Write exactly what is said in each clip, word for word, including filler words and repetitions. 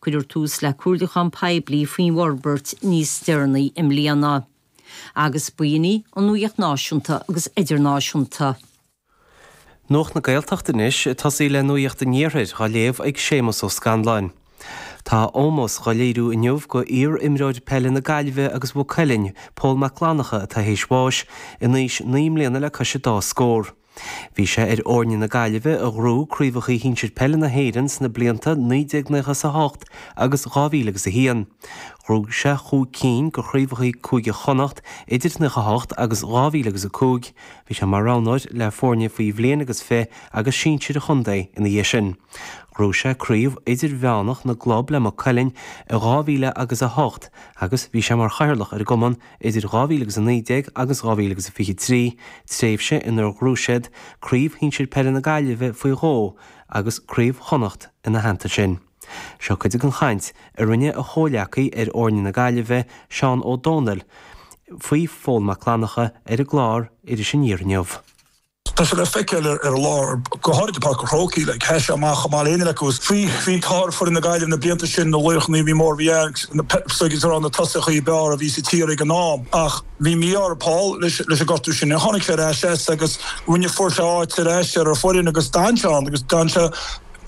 Cuirfear tús le comhairliúchán poiblí faoin bhforbairt níos deireanaí i mbliana. Agus b'in í an nuacht náisiúnta agus idirnáisiúnta. Nuacht na Gaeltachta anois tosaí le nuacht an Iarthair á léamh ag Séamus Ó Scanláin. Tá ómós á léiriú inniu go iar-imreoir peile na Gaillimhe agus Mhaigh Cuilinn, Pól Mac Fhlannchadha atá théis bháis in aois naoi mbliana le cois dá scór. Bhí sé ar fhoirne na Gaillimhe a ghnóthaigh craobhacha shinsir peile na hÉireann sna blianta naoi déag nócha a hocht agus dhá mhíle agus a haon. Ghnóthaigh sé chúig cinn de chraobhacha Cúige Chonnacht idir nócha a hocht agus dhá mhíle agus a cúig, Bhí sé mar roghnóir le foirne faoi bhliain agus fiche agus sinsir an chontae ina dhiaidh sin. Ghnóthaigh sé craobh idirmheánach na gclub le Maigh Cuilinn i dhá mhíle agus a hocht agus bhí sé mar chathaoirleach ar an gcumann idir dhá mhíle agus a naoi déag agus dhá mhíle agus a fiche trí, tréimhse inar ghnóthaigh siad craobh shinsir peile na Gaillimhe faoi dhó agus craobh Chonnacht ina theannta sin. Seo cuid den chaint a rinne a chomhleacaí ar fhoirne na Gaillimhe Seán Ó Dónaill faoi Phól Mac Fhlannchadha ar an gclár Iris Aniar inniu. Tá sé le feiceáil ar ar lár go háirithe Páirc an Chrócaigh le heis amach amach léine le gus. Bhí bhí tá foireann na Gaillimhe na blianta sin na laochra bhí mór bhí rá na tosaithe ab fhearr a bhí sa tír ag an am ach bhí mí ar Paul leis leis an gortú sin tháinig sé ar ais agus rinne fuair sé áit ar ais ar foireann agus d'fhan sé agus d'fhan sé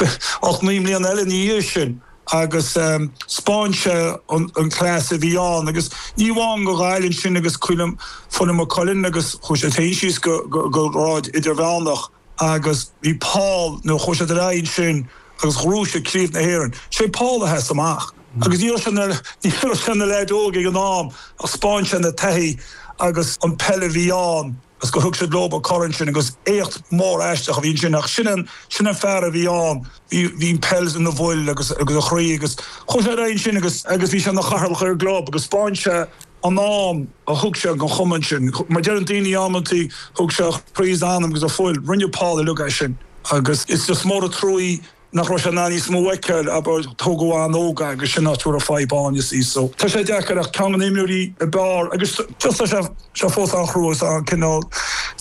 ach naoi mbliana eile ina dhiaidh sin agus um, 'spáin sé an, an class a bhí ann agus ní amháin go Gaillimh sin agus cuilim foireann Maigh Cuilinn agus chuaigh sé féin síos go, go, go grád idirmheánach agus bhí Paul nó chuaigh sé ar aghaidh sin agus ghnóthaigh sé craobh na hÉireann. Sé Paul a sheas amach. Agus ní sin ní sin na leaids ag an am a 'spáin sé na taithí agus an peil a bhí ann agus go thug siad leo an corn sin agus éacht mór aisteach a bhí sin ach sin an sin an fear a bhí ann bhí an peil ina bhfuil agus agus a chroí agus chuaigh sé ar aghaidh sin agus agus bhí sé ina chathaoirleach ar an gclub agus 'spáin sé an am a thug sé don chumann sin. Mar deir daoine amantaí thug sé croí anam agus a fhuil rinne Paul uilig é sin agus is just mór an trua nach raibh sé ná níos mó feiceáil aber tógadh an-óg agus sin nádúr a fadhb is í so. Tá sé deacair ach ceann na n-imreoirí ab fhearr agus just sé sé fós an-chrua an cineál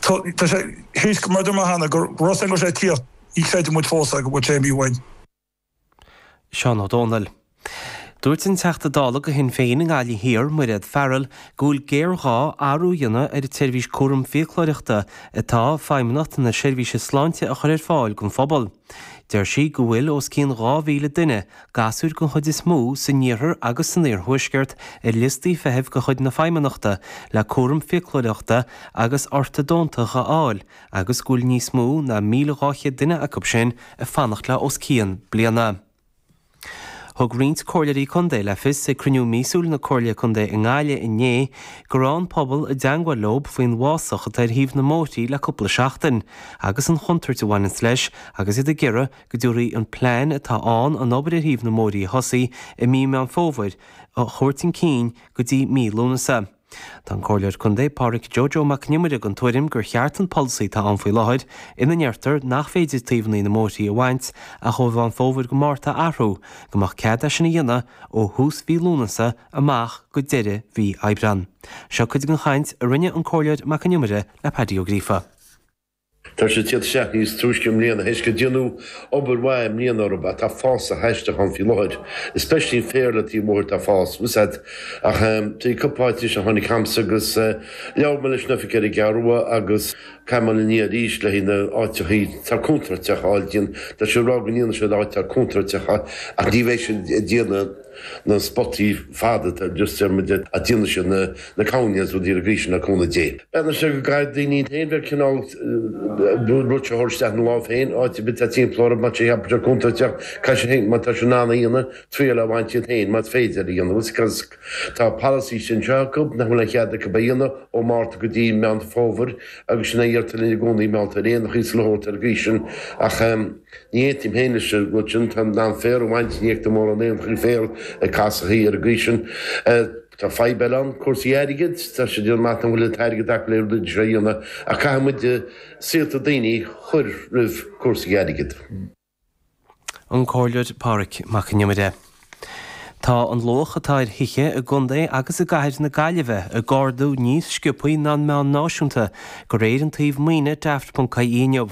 tá sé héis mar mar hena gur ros go sé tíocht í chreidim muid fós go bhfuil sé imithe uainn. Seán Ó Dónaill. Dúirt an Teachta Dála do Shinn Féin i nGaillimh Thiar Mairéad Farrell go bhfuil géarghá athrú a dhéanamh ar an tseirbhís cúram fiaclóireachta atá Feidhmeannacht na Seirbhíse Sláinte a chur ar fáil don phobal. Deir sí go bhfuil os cionn dhá mhíle duine gasúir den chuid is mó san iarthar agus san iarthuaisceart ar liostaí feithimh de chuid na feidhmeannachta le cúram fiaclóireachta agus ortadóntach a fháil agus go bhfuil níos mó ná míle dhá chéad duine acu sin ag fanacht le os cionn bliana. Thug roinnt comhairleoirí contae le fios ag cruinniú míosúil na Comhairle Contae i nGaillimh inné go raibh an pobal i dteagmháil leo faoin bhfásach atá ar thaobh na mbóithrí le cúpla seachtain, agus an chontúirt a bhaineann leis agus iad ag iarraidh go dtabharfaí an plean atá ann an obair ar thaobh na mbóithrí a thosaigh i mí Meán Fómhair a thabhairt chun cinn go dtí mí Lúnasa. Tá an Comhairleoir Contae Pádraic Joe Mac Con Iomaire den tuairim gur cheart an polasaí atá ann faoi láthair ina ndeirtear nach féidir taobhanna na mbóithrí a bhaint ach ó Mheán Fómhair go Márta a athrú, go mbeadh cead é sin a dhéanamh ó thús mhí Lúnasa amach go deireadh mhí Aibreán. Seo cuid den chaint a rinne an Comhairleoir Mac Con Iomaire le Paddy Ó Gríofa. Tá sé tíad seach níos túisce mbliana théis go déanamh obair mhaith mbliana orthu tá fásach aisteach ann faoi láthair, especially féar le taobh bóthair tá fás úsáid ach tá cúpla áit a tháinig chugamsa agus labhair mé leis na oifigigh ar an gCeathrú Rua agus caimal ní arís le na áiteachaí tá contúirteach fháil díon Tá sé rá go ndéanann siad áit contúirteach ach ní bheidh siad ag déanamh na spotaí fada just ar a déanamh siad na na cones rudaí ar gcríis na cúnamh Dé. Bena sé go gcaithfidh daoine féin bheith cineál rud seo isteach na lámh féin áit bit a timplóir má sé sé contúirteach caithfidh sé féin má tá sé in ann a dhéanamh triail a bhaint iad féin más féidir a dhéanamh cos tá policy sin seo acu nach bhfuil an chead acu a dhéanamh ó Márta go dtí Meán Fómhair agus sin a dhéartar linn i gcónaí meálta aon chuis le hórt ar gcríis sin ach ní aontaím féin leis an rud sin tá an féar a bhaint ní mór an aon chuí féar ag casachaí ar an gcaoi sin. Tá fadhb eile ann cúrsaí airgid tá sé déanamh maith bhfuil an t-airgead acu le rudaí seo a dhéanamh ach caithfidh muid saolta daoine chur roimh cúrsaí airgid. An Comhairleoir Pádraic Mac Con Iomaire. Tá an luach atá ar thithe i gcontae agus i gcathair na Gaillimhe ag ardú níos sciobtha ná an meán náisiúnta de réir an tsuímh maoine daft.ie inniu.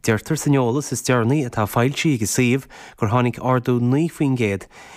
Deirtear san eolas is deireanaí atá foilsithe ag an suíomh gur tháinig ardú naoi faoin gcéad